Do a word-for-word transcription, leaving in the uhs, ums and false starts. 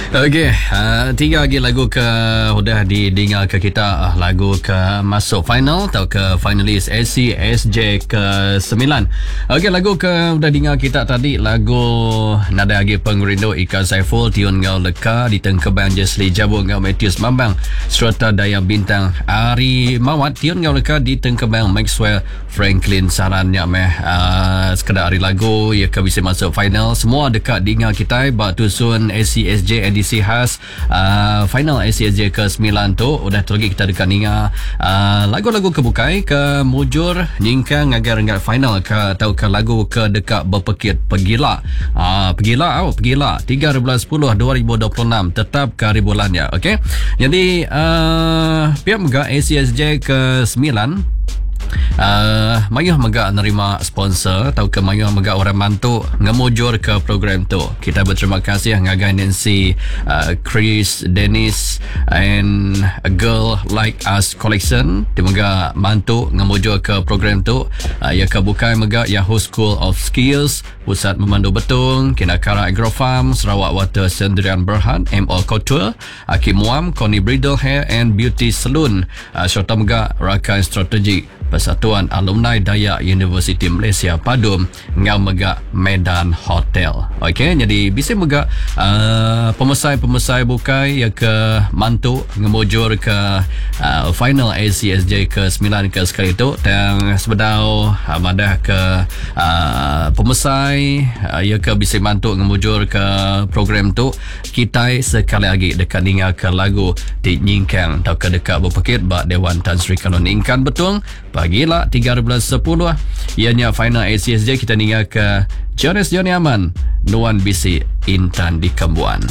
Okey, uh, tiga lagi lagu ke udah didinga ke kita, lagu ke masuk final atau ke finalis A C S J ke sembilan. Okey, lagu ke udah dengar kita tadi lagu Nada Agi Pengerindu Ika Saiful, Tiun Ngau Leka, ditengkebang Jesli Jabu ngau Matthews Mambang serta Daya Bintang Ari Mawat. Tiun Ngau Leka ditengkebang Maxwell Franklin Sarannya meh. Uh, sekedar hari lagu ia ke bisa masuk final semua dekat dengar kita bak tusun A C S J edisi khas uh, final A C S J ke sembilan tu. Udah tu lagi kita dekat ninga uh, lagu-lagu kebukai ke mujur nyingkang agar renggat final ke atau ke lagu ke dekat berpekit pegila. Uh, pegila au pegila tiga bulan sepuluh dua ribu dua puluh enam tetap ke hari bulannya. Okey. Jadi uh, pihak mega A C S J ke sembilan Uh, mayuh mega nerima sponsor atau ke mayuh mega orang mantu ngemujur ke program tu. Kita berterima kasih ngagai Nancy, uh, Chris, Dennis and A Girl Like Us Collection. Dia mega mantu ngemujur ke program tu. Uh, ia ke bukai mega Yahoo School of Skills, Pusat Memandu Betung, Kinakara Agro Farm, Sarawak Water Sendirian Berhad, M O Couture, Aki Muam, Connie Bridal Hair and Beauty Salon, uh, serta mega rakan strategik Persatuan Alumni Dayak Universiti Malaysia Padum ngau mega Medan Hotel. Okey, jadi bisa mega uh, pemesai-pemesai bukai yang ke mantu ngemujur ke uh, final A C S J ke sembilan ke sekali tu. Dan sebedau uh, madah ke uh, pemesai uh, yang ke bisa mantu ngemujur ke program tu, kita sekali lagi dekat dengar ke lagu di Nyingkang atau ke dekat berpekit bak Dewan Tan Sri Kalon Ingkan Betung. Pagilah tiga bulan sepuluh ianya final A C S J. Kita dengar ke Jonas Johnny Aman, Nuan Bisi Intan di Kembuan.